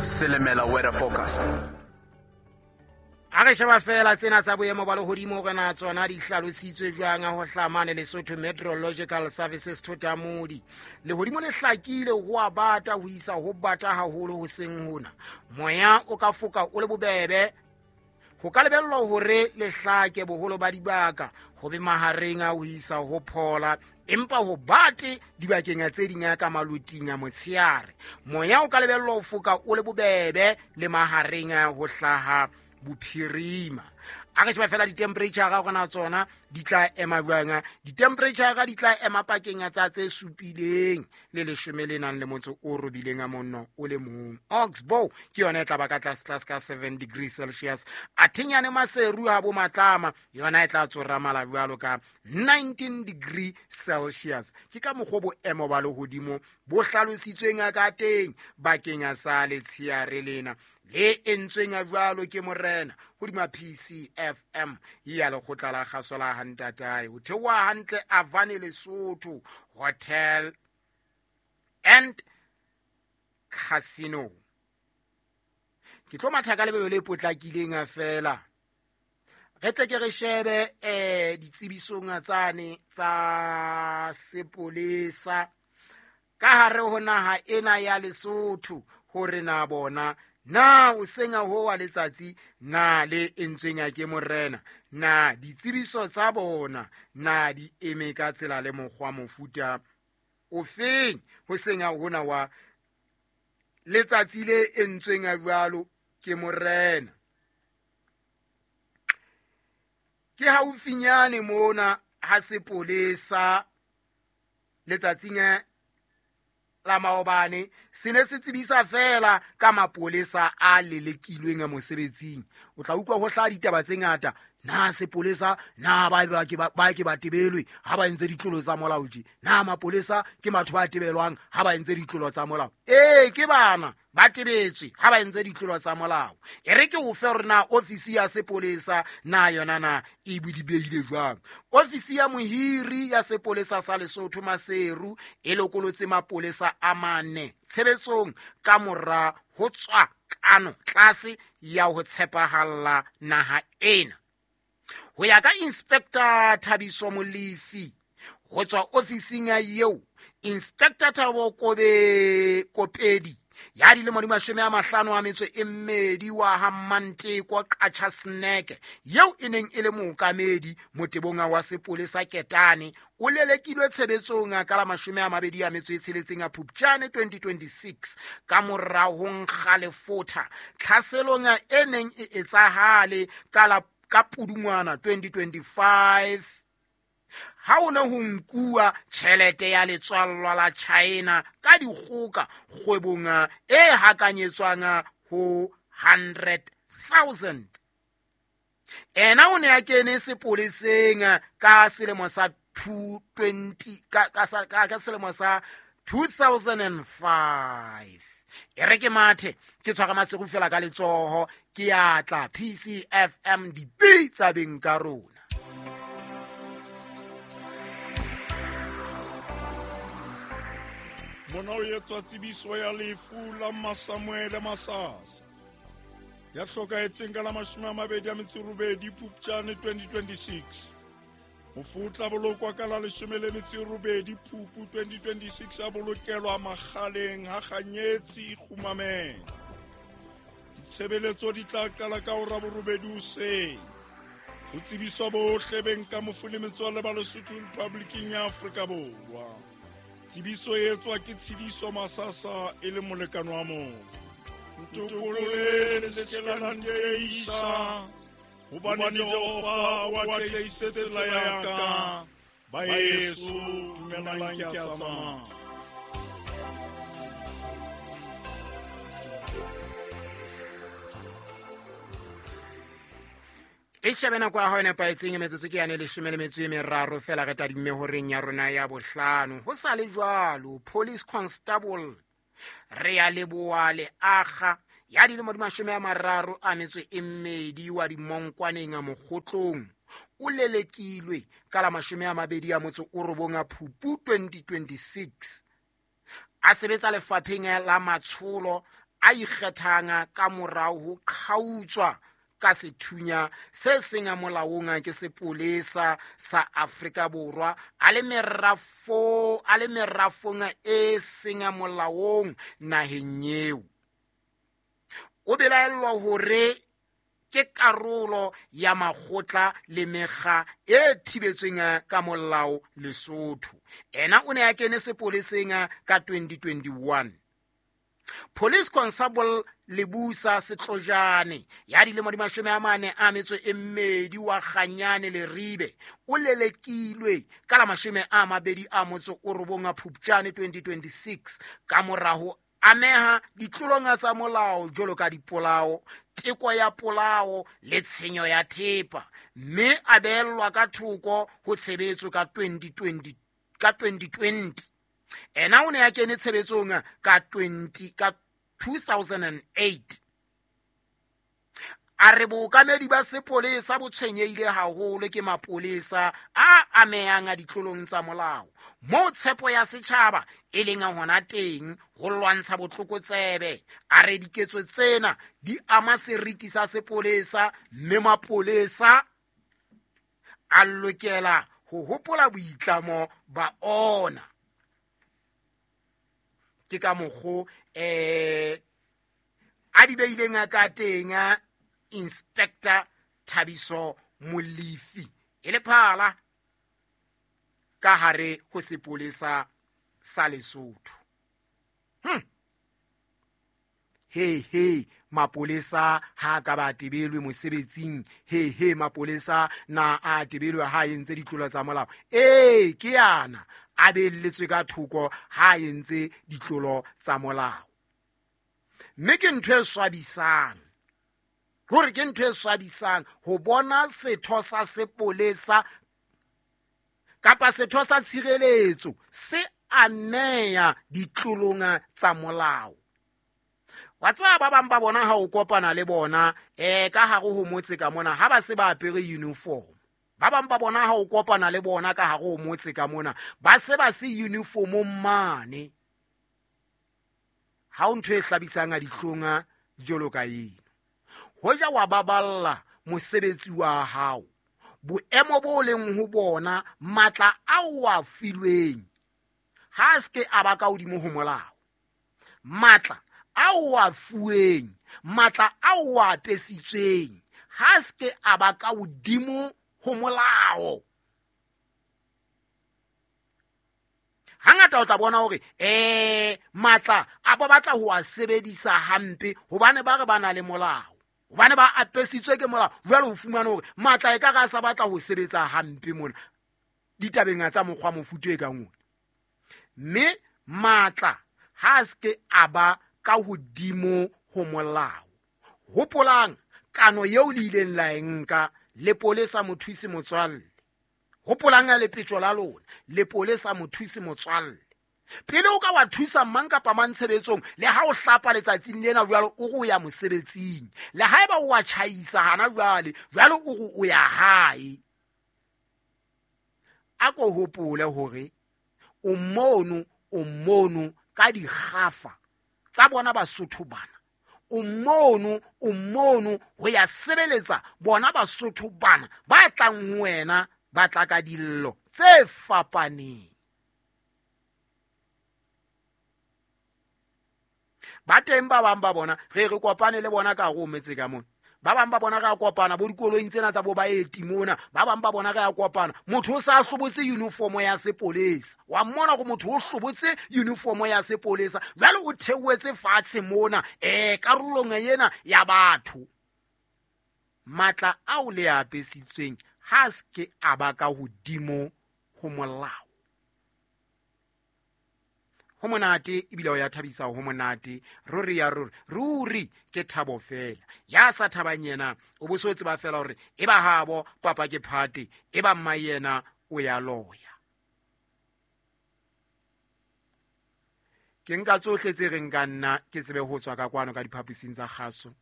Silimela weather forecast. A re sheba fela tsena tsa boemo ba lehodimo hore na tsona di hlalositswe jwang ho hlamane Lesotho Meteorological Services Thotamodi. Lehodimo le hlakile ho a bata ho isa ho bata haholo hoseng hona. Moya o ka foka o le bobebe. Ho ka lebellwa hore le hlake boholo ba dibaka ho be mahareng a ho isa ho phola, empa ho bate dibakeng tse ding ka maloting a motsheare. Moya o ka lebellwa ho foka o le bobebe le mahareng a ho hlaha bophirima. A re sheba fela di-temperature ga gona tsona di tla ema jwang. Di-temperature di tla ema pakeng tsa tse supileng le leshome le nang le motso o robileng a monno o le mong. Oxbow ke yona e tla ba ka tlase tlase ka 7 degrees Celsius. Athenyane Maseru ha bo Matlama yona e tla tsoramala jwalo ka 19 degree Celsius. Ke ka mokgwa boemo ba lehodimo bo hlalositsweng ka teng bakeng sa letsheare lena le entsweng jwalo ke morena hodima PCFM ya lekgotla la kgaso la Hantatae. Ho theoha hantle Avane Lesotho Hotel and Casino. Ke tlo matha ka lebelo le potlakileng fela. Re tle ke re shebe ditsebisong tsane tsa sepolesa ka hare ho naha ena ya Lesotho hore na bona na o senya ho wa letsatsi na le entsweng ke morena, na ditsebiso tsa bona na di eme ka tsela le mokgwa mofuta o feng ho senya hona wa letsatsi le entsweng jwalo ke morena. Ke haufinyane mona ha sepolesa letsatsing la maobane se ne se tsebisa fela ka mapolesa a lelekilweng mosebetsing. O tla utlwa ho hlaha ditaba tse ngata, na sepolesa na ba ke ba tebelwe ha ba entse ditlolo tsa molao tje, na mapolesa ke batho ba tebelwang ha ba entse ditlolo tsa molao. Ee, ke bana ba tebetswe ha ba entse ditlolo tsa molao. E re ke o fe hore na ofisi ya sepolesa na yona na e bodibehile jwang. Ofisi ya mohiri ya sepolesa sa Lesotho Maseru e lokolotse mapolesa a mane tshebetsong ka mora ho tswa kano tlase ya ho tshepahalla naha ena. Ho ya ka Inspector Thabiso Molefi ho tswa ofising ya eo, Inspector Thabo Kopedi ya dilemo di 52 wa ha Manteko Qacha Snack yeo e neng e le mookamedi motebong wa sepolesa Ketane o lelekilwe tshebetsong ka la 26 a Phupjane 2026 ka mora ho nkga lefotha tlhaselong e neng e etsahale ka Pudungwana 2025 ha o ne ho nkuwa tjhelete ya letswallwa la China ka dikgoka kgwebong e hakanyetswang ho 100,000. Ena o ne a kene sepoleseng ka selemo sa 220 ka selemo sa 2005. E re ke mathe ke tshwara Maseru fela ka letsoho ke atla PCFM dipitsa beng ka rona. Mona o etswa tsebiso ya lefu la Masamuele Masasa ya hlokahetseng ka la 28 Phupjane 2026. Mofu o tla bolokwa ka la 18 Phupu 2026 a bolokelwa Makgaleng ha Kganyetsi Kgumameng. Ditshebeletso di tla qala ka hora 8 hoseng. Ho tsebiswa bohle beng ka mofu le metswalle ba Lesotho Republiking ya Afrika Borwa. Tsebiso e etswa ke Tshidiso Masasa e le molekane wa motho. Ntokolole le se ke la nteisa, hobane Jehova o atlehisitse tsela ya ka. Baeso, dumelang ke a tsamaya. E shebe nako ya hao e nepahetseng, metsotso ke yane 13 fela re tadimme horeng ya rona ya bohlano. Ho sa le jwalo, Police Constable re ya leboha le akga ya dilemo di 32 wa dimonkwaneng a mokgotlong o lelekilwe ka la 29 a Phupu 2026 a sebetsa lefapheng la matsholo a ikgethang ka morao ho qhautswa ka sethunya se seng molaong ke sepolesa sa Afrika Borwa a le merafong e seng molaong naheng eo. O belaellwa hore ke karolo ya makgotla le mekga e thibetsweng ka molao Lesotho. Ena o ne a kene sepoleseng ka 2021. Police Constable Lebusa Setlojane ya dilemo di 42 wa Kganyane Leribe o lelekilwe ka la 29 Phupjane 2026 ka moraho ameha ditlolong tsa molao jwalo ka dipolao, teko ya polao le tshenyo ya thepa, mme a beellwa ka thoko ho tshebetso ka 2020. Ena o ne a kene tshebetsong ka 2008. A re bookamedi ba sepolesa bo tshwenyehile haholo ke mapolesa a amehang a ditlolong tsa molao, moo tshepo ya setjhaba e leng hona teng ho lwantsha botlokotsebe. A re diketso tsena di ama seriti sa sepolesa, mme mapolesa a lokela ho hopola boitlamo ba ona. Ke ka mokgo a di beileng ka teng Inspector Thabiso Molefi e le phala ka hare ho sepolesa sa Lesotho. He mapolesa ha ka ba tebelwe mosebetsing. He mapolesa na a tebelwe ha entse ditlolo tsa molao. Ee, ke yana a belletswe ka thoko ha entse ditlolo tsa molao. Mme ke ntho e swabisang, hore ke ntho e swabisang ho bona setho sa sepolesa kapa setho sa tshireletso se ameya ditlolong tsa molao. Wa tseba ba bang ba bona ha o kopana le bona ka hare ho motse ka mona ha ba se ba apere uniform. Ba bang ba bona ha o kopana le bona ka hare ho motse ka mona ba se ba se uniformong mane. Ha o ntho e hlabisang a dihlong jwalo ka eno. Hoja wa baballa mosebetsi wa hao, boemo bo leng ho bona, matla ao a filweng ha se ke a ba ka hodimo ho molao. Matla ao a fuweng, matla ao a apesitsweng ha se ke a ba ka hodimo ho molao. Hangata o tla bona hore matla a ba batla ho a sebedisa hampe hobane ba re ba na le molao, hobane ba apesitswe ke molao. Jwale o fumane hore matla e ka re a sa batla ho sebetsa hampe mona ditabeng tsa mokgwa mofuta e kang ona. Mme matla ha se ke a ba ka hodimo ho molao. Hopolang kano eo le ileng la e nka lepolesa mothusi motswalle. Hopolang lepetjo la lona, lepolesa mothusi motswalle. Pele o ka wa thusa mang kapa mang tshebetsong, le ha o hlapa letsatsing lena jwalo o re o ya mosebetsing, le haeba o wa tjhaisa hana jwale, jwale o re o ya hae. A ko hopole hore o mono ka dikgafa tsa bona Basotho bana. O mono ho ya sebeletsa bona Basotho bana ba tlang ho wena, ba tla ka dillo tse fapaneng. Ba teng ba bang ba bona re kopane le bona ka hare ho metse ka mona. Ba bang ba bona re a kopana bo dikoloing tsena tsa bo baeti mona. Ba bang ba bona re a kopana. Motho o sa hlobotse uniform ya sepolesa. Wa mmona hore motho o hlobotse uniform ya sepolesa. Jwale o theohetse fatshe mona karolong ena ya batho. Matla ao le a apesitsweng ha se ke a ba ka hodimo ho molao. Ho monate ebile o ya thabisa, ho monate ruri ya ruri, ruri ke thabo fela. Ya sa thabang yena o bo so tseba fela hore e ba habo papa ke phate, e ba mma yena o ya loya. Ke nka tsohle tse reng ka nna ke tsebe ho tswa ka kwano ka diphaposing tsa kgaso.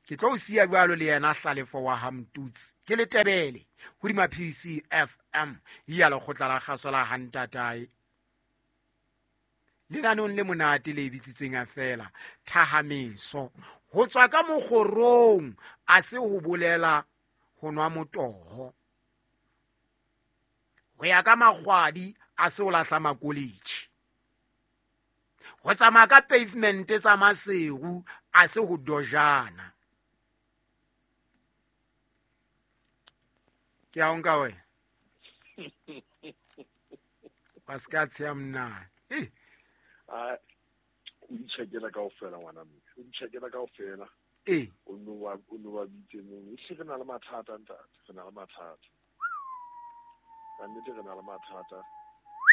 Ke tlo o siya jwalo le yena Hlalefo wa ha Mtutsi. Ke Letebele hodima PCFM ya lekgotla la kgaso la Hantatae. Lenaneong le monate le bitsitsweng a fela thahameso. Ho tswa ka mokgorong a se ho bolela ho nwa motoho. Ho ya ka makgwadi a se o lahla makoletjhi. Ho tsamaya ka pavement tsa Maseru a se ho dojana. Ke a o nka wena. Wa se ka tsheya monna. Eh. A o di tjhekela kaofela ngwana mme. O di tjhekela kaofela. Ee. O no wa o no wa bitse mono. Ehlile re na le mathata ntate, re na le mathata. Ka nnete re na le mathata.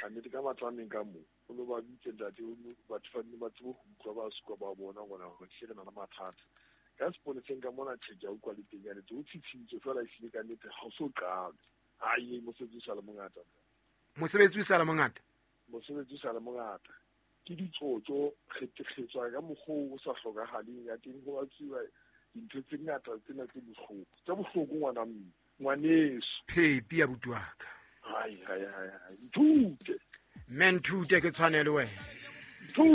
Ka nnete ka matlo a meng ka mo. O no ba bitse ntate, o no batho ba nne ba tsebe ho utlwa ba suka ba bona gona hore ehlile re na le mathata. Ka sepoleseng ka mona tjhe ke a utlwa le teng ya nnete. O tshitshintswe fela ehlile ka nnete ha o so qalwe. Ai mosebetsi o sa le mongata. Mosebetsi o sa le mongata? Mosebetsi o sa le mongata. Ke ditsotso kgetekgetswa ka mokgwa o sa hlokahaleng ya teng ho batsuwa dintho tse ngata tsena tse bohloko. Tse bohloko ngwana mme, ngwaneso. Phepi ya buti wa ka. Hai hai hai hai. Nthute. Mme nthute ke tshwane le wena.